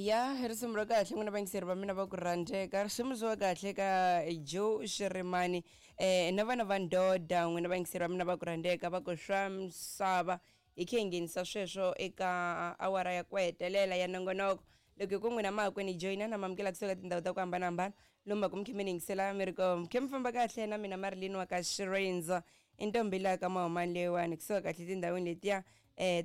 Ya risimu ra kahle n'wina vayingiseri va mina va ku rhandzeka, risimu byiwa kahle ka Joe Shirimani na vana va ndoda. N'wina vayingiseri va mina va ku rhandzeka va ku swa misava, hi khe hi nghenisa sweswo eka awara ya ku hetelela ya nongonoko. Loko hi ku n'wina mahakwini joyina na mamukela kusuka tindhawu ta ku hambanahambana lomu ku mi khe mi ni yingisela, mi ri ko mi khe mi famba kahle na mina Marilyn wa ka Xirenza, i ntombi laha ka Mahumani leyiwani, kusuka kahle tindhawini letiya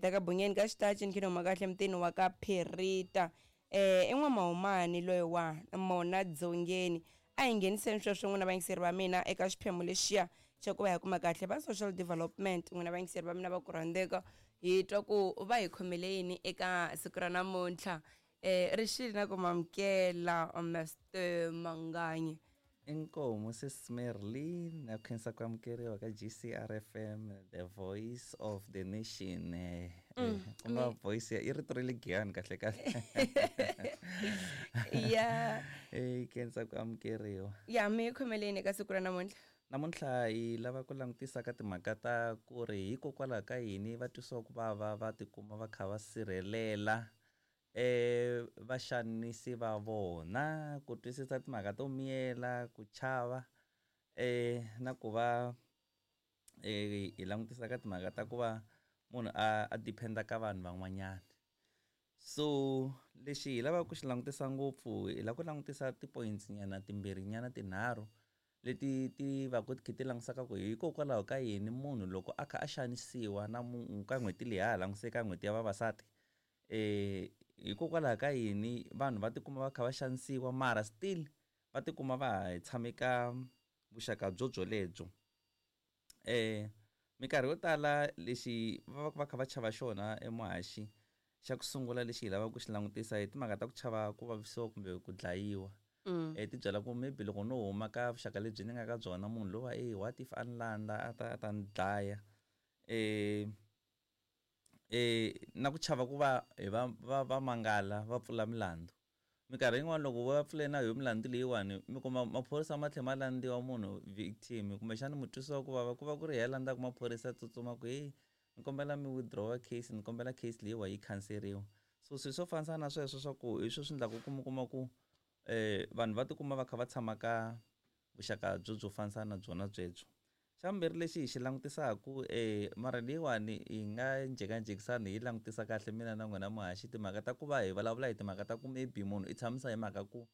ta ka Bunyeni ka Xitachi, ni khe ni huma kahle mutini wa ka Phirita, i n'wamahumani loyi wa mona dzongeni. A hi ngheniseni sweswo n'wina vayingiseri va mina eka xiphemu lexiya xa ku va hi kuma kahle va social development. N'wina vayingiseri va mina va ku rhandzeka, hi twa ku va hi khomele yini eka siku ra namuntlha. Rixile na ku mamukela Mr Manganyi. Inkomu sis Merlin, na khensa ku amukeriwa ka GCRFM, the voice of the nation. Ku nga voice ya i rito ra le Giyani kahle kahle. Khensa ku amukeriwa. Ya mi khomeleni eka siku ra namuntlha. Namuntlha hi lava ku langutisa ka timhaka ta ku ri hikokwalaho ka yini va twisiwa ku vava va tikuma va kha va sirhelela vaxanisi va vona, ku twisisa timhaka to miyela, ku chava, na ku va hi langutisa ka timhaka ta ku va munhu a depend-a ka vanhu van'wanyana. So lexi hi lavaka ku xi langutisa ngopfu, hi lava ku langutisa ti-points nyana timbirhi nyana tinharhu leti ti va ku ti kha ti langutisaka ku hikokwalaho ka yini munhu loko a kha a xanisiwa na ka n'hweti leyi ha ha langutise ka n'hweti ya vavasati, hikokwalaho ka yini vanhu va tikuma va kha va xanisiwa mara still va tikuma va ha tshame ka vuxaka byo byolebyo. Minkarhi yo tala lexi va va kha va chava xona emuhaxi xa ku sungula lexi hi lavaka ku xi langutisa hi timhaka ta ku chava ku vavisiwa kumbe ku dlayiwa. Ti byela ku maybe loko no huma ka vuxaka lebyi ni nga ka byona, munhu lowa what if a ni landza a ta ni dlaya. Na ku chava ku va hi va va va mangala va pfula milandzu. Minkarhi yin'wani loko va pfule na yo milandzu leyiwani, mi kuma maphorisa ma tlhela ma landziwa munhu victim, kumbexana mutwisiwa ku vava ku va ku ri yena landzaka maphorisa tsutsuma ku heyi ni kombela mi withdraw case, ni kombela case leyiwa yi khanseriwa. So swilo swo fambisana na sweswo swa ku hi swona swi endlaka ku mi kuma ku vanhu va tikuma va kha va tshama ka vuxaka byo byo fambisana na byona byebyo. Xa vumbirhi lexi hi xi langutisaku, mara leyiwani hi nga njhekanjhekisani hi langutisa kahle mina na n'wina muhaxi, timhaka ta ku va hi vulavula hi timhaka ta ku maybe munhu i tshamisa hi mhaka ku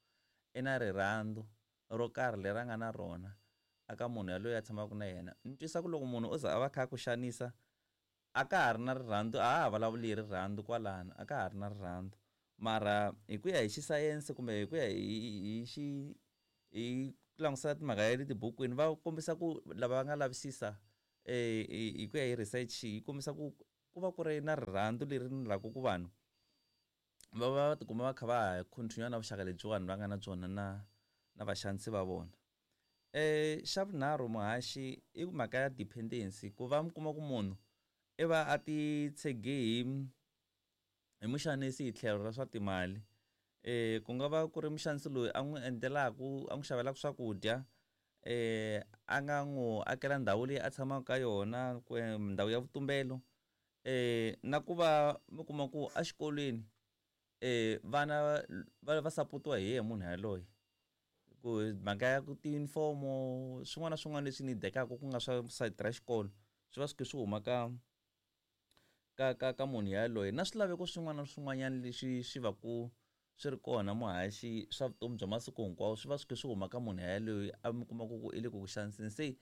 i na rirhandzu ro karhi leri a nga na rona aka munhu yaloye a tshamaka na yena. Ni twisa ku loko munhu o za a va kha a ku xanisa, a ka ha ri na rirhandzu, a ha ha vulavuli hi rirhandzu kwalano, a ka ha ri na rirhandzu. Mara hi ku ya hi xisayense kumbe hi ku ya hi xi hi ku langutisa timhaka ya le tibukwini, va kombisa ku lava va nga lavisisa hi ku ya hi research yi kombisa ku ku va ku ri na rirhandzu leri endlaka ku vanhu va va tikuma va kha va ha continue na vuxaka lebyiwani va nga na byona na vaxanisi va vona. Xa vunharhu muhaxi i mhaka ya dependency, ku va mi kuma ku munhu i va a titshege hi muxanisi hi tlhelo ra swa timali. Ku nga va ku ri muxanisi loyi a n'wi endlelaku, a n'wi xavelaka swakudya, a nga n'wi akela ndhawu leyi a tshamaka ka yona, ku ndhawu ya vutumbelo, na ku va mi kuma ku exikolweni vana va sapotiwa hi yena munhu yaloye. Ku mhaka ya ku tiyunifomo swin'wana na swin'wana leswi ni dekaka ku nga swa sayiti ra xikolo swi va swi kha swi huma ka munhu yaloye, na swilaveko swin'wana na swin'wanyana leswi swi va ku swi ri kona muhaxi swa vutomi bya masiku hinkwawo swi va swi kha swi huma ka munhu yaloye a mi kuma ku i le ku ku xaniseni. Se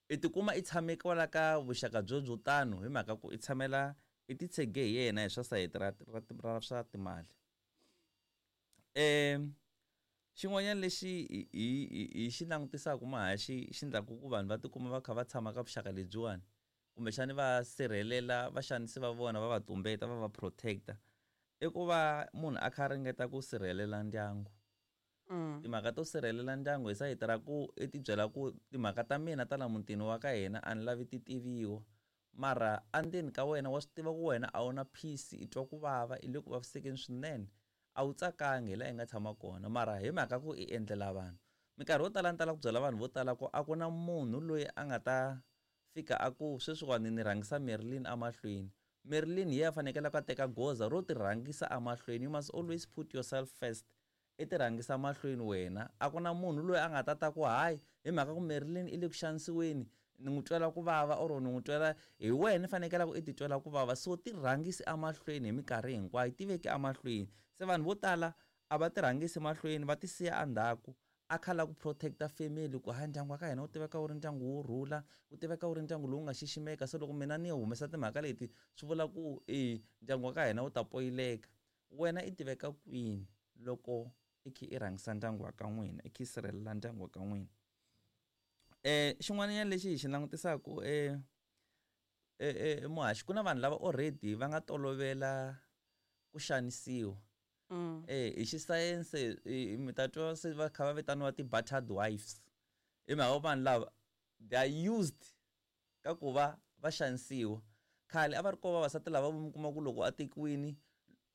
i tikuma i tshame kwala ka vuxaka byo byo tano hi mhaka ku i tshamela i titshege hi yena hi swa sayiti ra swa timali. Xin'wanyana lexi hi xi langutisaka muhaxi xi endlaka ku vanhu va tikuma va kha va tshama ka vuxaka lebyiwani, kumbexani va sirhelela vaxanisi va vona, va va tumbeta, va va protect-a, i ku va munhu a kha a ringeta ku sirhelela ndyangu. Timhaka to sirhelela ndyangu hi sayiti ra ku i ti byela ku timhaka ta mina ta la mutini wa ka hina a ni lavi ti tiviwa, mara endzeni ka wena wa swi tiva ku wena a wu na peace, i twa ku vava, i le ku vavisekeni swinene, a wu tsakangi hi laha i nga tshama kona, mara hi mhaka ku i endlela vanhu. Minkarhi yo tala ni tala ku byela vanhu vo tala ku a ku na munhu loyi a nga ta fika a ku sweswiwani ni rhangisa Marilyn emahlweni, Marilyn hi yena a fanekelaka a teka goza ro ti rhangisa emahlweni. You must always put yourself first. I ti rhangisa mahlweni wena. A ku na munhu loyi a nga ta ta ku hayi hi mhaka ku Marilyn i le ku xanisiweni ni n'wi twela ku vava or ni n'wi twela hi wena i fanekelaka i ti twela ku vava. So ti rhangisi emahlweni hi minkarhi hinkwayo, ti veki emahlweni. Se vanhu vo tala a va ti rhangisi mahlweni va ti siya endzhaku a kha lava ku protect-a family ku hayi ndyangu wa ka hina wu tiveka wu ri ndyangu wo rhula, wu tiveka wu ri ndyangu lowu nga xiximeka se loko mina ni humesa timhaka leti swi vula ku e ndyangu wa ka hina wu ta poyileka. Wena i tiveka kwini loko i kha i rhangisa ndyangu wa ka n'wina i kha i sirhelela ndyangu wa ka n'wina. Xin'wanyana lexi hi xi langutisaka muhaxi ku na vanhu lava already va nga tolovela ku xanisiwa. Hi xisayense mi ta twa se va kha va vitaniwa ti-battered wives hi mhaka ku vanhu lava they are used ka ku va va xanisiwa. Khale a va ri kona vavasati lava mi kuma ku loko a tekiwini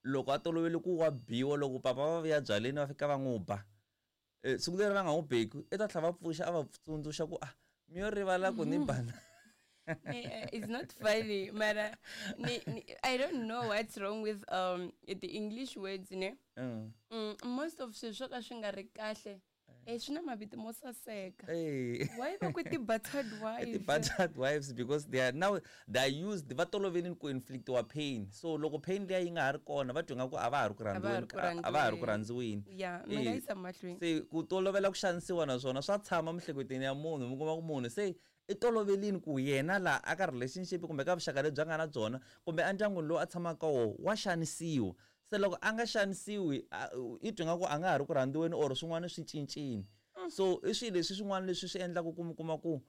loko a tolovele ku wa biwa loko papa va vuya byaleni va fika va n'wi ba siku leri va nga n'wi beki i ta tlhela va pfuxa a va tsundzuxa ku ah mi yo rivala ku ni bana. It's not funny mara ni, I don't know what's wrong with the English words ne. Most of swilo swo ka swi nga ri kahle swi na mavito mo saseka. Why va ku ti-battered wives? Ti-battered wives because they are now they are used va tolovelini ku inflictiwa pain. So loko pain liya yi nga ha ri kona va twa nga ku a va ha ri ku rhandziweni, a va ha ri ku rhandziweni. Yeah, mi nga yisa mahlweni. Se ku tolovela ku xanisiwa naswona swa tshama miehleketweni ya munhu mi kuma ku munhu se i tolovelini ku yena la aka relationship kumbe ka vuxaka lebyi a nga na byona kumbe endyangwini lowu a tshamaka ka wona wa xanisiwa. Se loko a nga xanisiwi i twa nga ku a nga ha ri ku rhandziweni or swin'wana swi cincile. So i swilo leswi swin'wana leswi swi endlaka ku mi kuma ku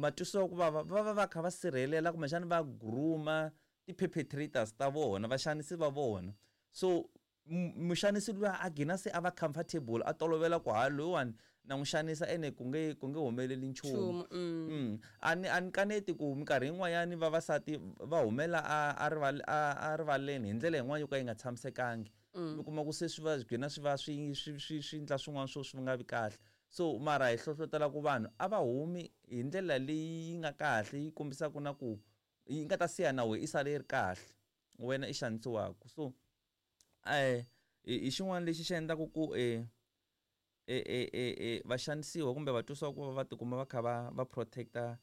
matwisiwa ku vava va va va kha va sirhelela kumbexana va groom-a ti-perpetrators ta vona vaxanisi va vona. So muxanisi luya a gina se a va comfortable a tolovela ku ha loyiwani na n'wi xanisa ene ku nge ku nge humeleli nchumu. A ni a ni kaneti ku minkarhi yin'wanyani vavasati va humela a a rival a rivaleni hi ndlela yin'wana yo ka yi nga tshamisekangi. Mi kuma ku se swi va gcina swi va swi swi swi swi endla swin'wana swo swi nga vi kahle. So mara hi hlohlotela ku vanhu a va humi hi ndlela leyi yi nga kahle yi kombisaka na ku yi nga ta siya na wena i sale yi ri kahle wena i xanisiwaka. So hi xin'wana lexi xi endlaka ku va xanisiwa kumbe va twisiwa ku va tikuma va kha va va protect-a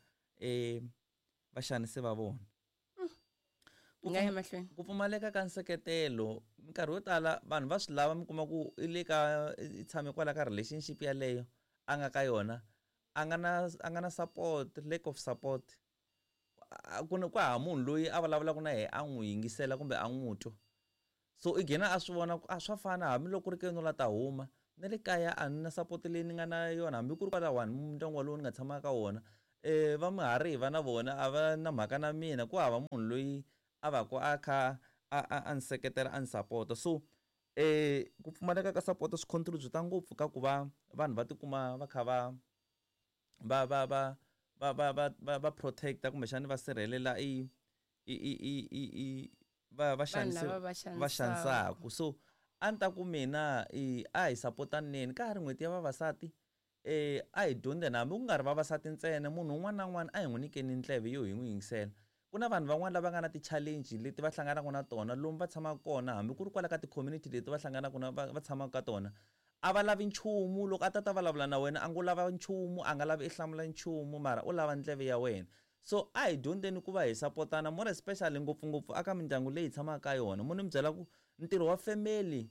vaxanisi va vona. Nga ya mahlweni. Ku pfumaleka ka nseketelo minkarhi yo tala vanhu va swi lava mi kuma ku i le ka i tshame kwala ka relationship yaleyo a nga ka yona a nga na a nga na support, lack of support. Ku na ku hava munhu loyi a vulavulaka na yena a n'wi yingisela kumbe a n'wi twa. So i gcina a swi vona ku a swa fana hambiloko ku ri ke no la ta huma na le kaya a ni na support leyi ni nga na yona hambi ku ri kwalawani ndyangu walowo ni nga tshama ka wona va mihariva na vona a va na mhaka na mina ku hava munhu loyi a va ku a kha a a a ni seketela a ni sapota. So ku pfumaleka ka support swi contribute ngopfu ka ku va vanhu va tikuma va kha va va va va va va va va va protect-a kumbexana va sirhelela i i i i i i va va xanisi va xanisaka. So a ni ta ku mina i a hi sapotaneni ka ha ri n'hweti ya vavasati a hi dyondzeni hambi ku nga ri vavasati ntsena munhu un'wana na un'wana a hi n'wi nyikeni ndleve yo hi n'wi yingisela. Ku na vanhu van'wani lava nga na ti-challenge leti va hlanganaka na tona lomu va tshamaka kona hambi ku ri kwala ka ti-community leti va hlanganaka na va tshamaka ka tona a va lavi nchumu loko a ta ta vulavula na wena a ngo lava nchumu a nga lavi i hlamula nchumu mara u lava ndleve ya wena. So a hi dyondzeni ku va hi sapotana more especially ngopfungopfu aka mindyangu leyi hi tshamaka ka yona. Mo ni mi byela ku ntirho wa family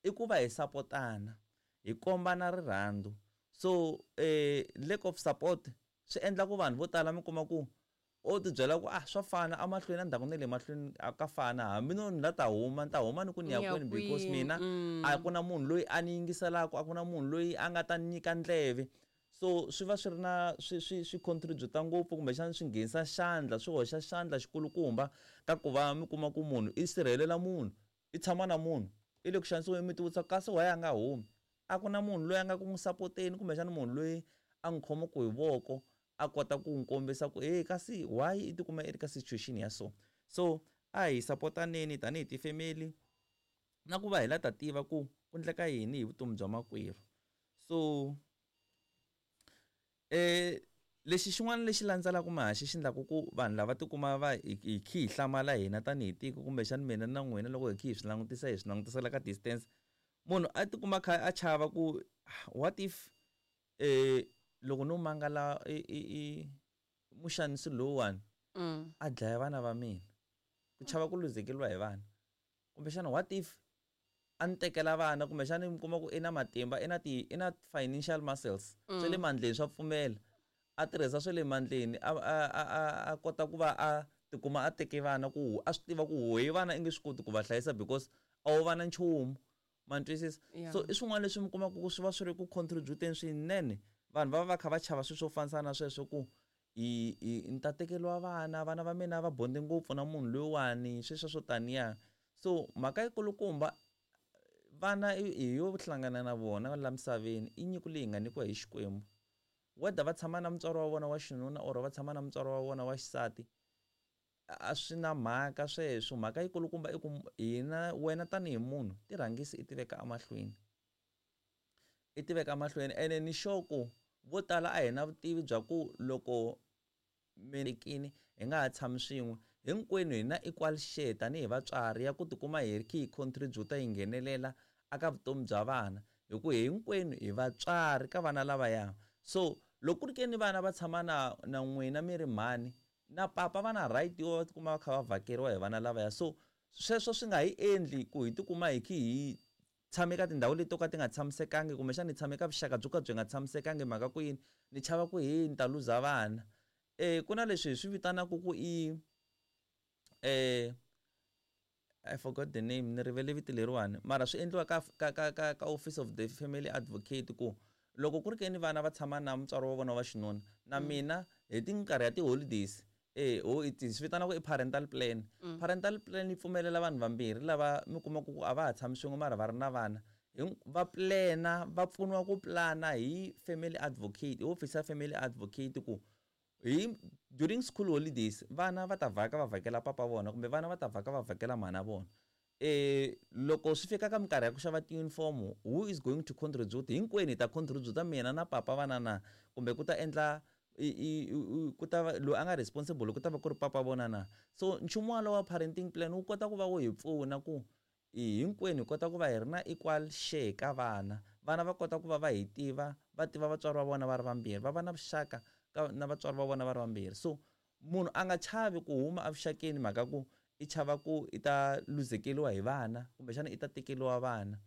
i ku va hi sapotana hi kombana rirhandzu. So lack of support swi endla ku vanhu vo tala mi kuma ku o ti byela ku ah swa fana emahlweni endzhaku na le mahlweni ka fana hambi no ni la ta huma ni ta huma ni ku ni ya kwini because mina a ku na munhu loyi a ni yingiselaka a ku na munhu loyi a nga ta ni nyika ndleve. So swi va swi ri na swi swi swi contribute ngopfu kumbexana swi nghenisa xandla swi hoxa xandla xikulukumba ka ku va mi kuma ku munhu i sirhelela munhu i tshama na munhu i le ku xanisiweni mi ti vutisa kasi why a nga humi a ku na munhu loyi a nga ku n'wi sapoteni kumbexana munhu loyi a n'wi khomaka hi voko a kota ku n'wi kombisa ku hey kasi why i tikuma i ri ka situation ya so. So a hi sapotaneni tanihi ti-family na ku va hi la ta tiva ku ku endleka yini hi vutomi bya makwerhu. So Lexi xin'wana lexi landzelaka mahaxi xi endlaku ku vanhu lava tikuma va hi khi hi hlamala hina tanihi tiko kumbexani mina na n'wina loko hi khi hi swi langutisa hi swi langutisela ka distance munhu a tikuma kha a chava ku what if loko no mangala i muxanisi lowuwani a dlaya vana va mina ku chava ku luzekeriwa hi vana kumbexana what if a ni tekela vana kumbexana mi kuma ku i na matimba i na ti i na financial muscles swa le mandleni swa pfumela a tirhisa swa le mandleni a a a a kota ku va a tikuma a teke vana ku a swi tiva ku hi vana i nge swi koti ku va hlayisa because a wu va na nchumu ma ni twisisa so i swin'wana leswi mi kumaka ku swi va swi ri ku contribute-eni swinene vanhu va va va kha va chava swilo swo fanisa na sweswo ku i i ni ta tekeriwa vana vana va mina va bonde ngopfu na munhu loyiwani sweswo swo taniya so mhaka yikulukumba vana hi yo hlangana na vona la misaveni i nyiko leyi nga nyikiwa hi Xikwembu whether va tshama na mutswari wa vona wa xinuna or va tshama na mutswari wa vona wa xisati a swi na mhaka sweswo mhaka yikulukumba i ku hina wena tanihi munhu ti rhangisi i tiveka emahlweni i tiveka mahlweni ene ni sure ku vo tala a hi na vutivi bya ku loko mi hi nga ha tshami swin'we hinkwenu hi na equal share tanihi vatswari ya ku tikuma hi ri hi contribute hi nghenelela aka vutomi bya vana hi ku hinkwenu hi vatswari ka vana lavaya so loko ku ri ke ni vana va tshama na na n'wina mi ri mhani na papa va na right yo va tikuma va kha va vhakeriwa hi vana lavaya so sweswo swi nga hi endli ku hi tikuma hi khi hi tshame ka tindhawu leti to ka ti nga tshamisekangi kumbexana ni tshame ka vuxaka byo ka byi nga tshamisekangi mhaka ku yini ni chava ku he ni ta luza vana ku na leswi hi swi vitanaka ku i I forgot the name ni rivele vito leriwani mara swi endliwa ka ka ka ka ka office of the family advocate ku loko ku ri ke ni vana va tshama na mutswari wa vona wa xinuna na mina hi minkarhi ya ti-holidays ho hi swi vitana ku i parental plan. Parental plan yi pfumelela vanhu vambirhi lava mi kumaka ku a va ha tshami swin'we mara va ri na vana va plan-a va pfuniwa ku plan-a hi family advocate hi office ya family advocate ku hi during school holidays vana va ta vhaka va vhakela papa vona kumbe vana va ta vhaka va vhakela mhana vona. Loko swi fika ka minkarhi ya ku xava ti-uniform who is going to contribute hinkwenu hi ta contribute mina na papa vana na kumbe ku ta endla ku ta va loyi a nga responsible ku ta va ku ri papa vona na so nchumu walowo wa parenting plan wu kota ku va wu hi pfuna ku hinkwenu hi kota ku va hi ri na equal share ka vana vana va kota ku va va hi tiva va tiva vatswari va vona va ri vambirhi va va na vuxaka ka na vatswari va vona va ri vambirhi so munhu a nga chavi ku huma evuxakeni mhaka ku i chava ku i ta luzekeriwa hi vana kumbexana i ta tekeriwa vana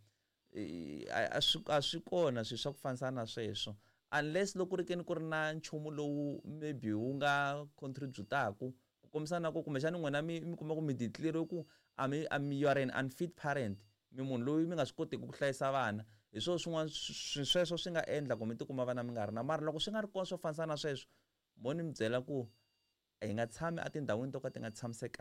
a swi kona swilo swa ku fanisa na sweswo unless loko ku ri ke ni ku ri na nchumu lowu maybe wu nga contribute-aku ku kombisa na ku kumbexana n'wina mi mi kuma ku mi declare ku a mi a mi you are an unfit parent mi munhu loyi mi nga swi kotiki ku hlayisa vana hi swona swin'wana sweswo swi nga endla ku mi tikuma vana mi nga ri na mara loko swi nga ri kona swo fanisa na sweswo mo ni mi byela ku hi nga tshami etindhawini to ka ti nga tshamisekanga.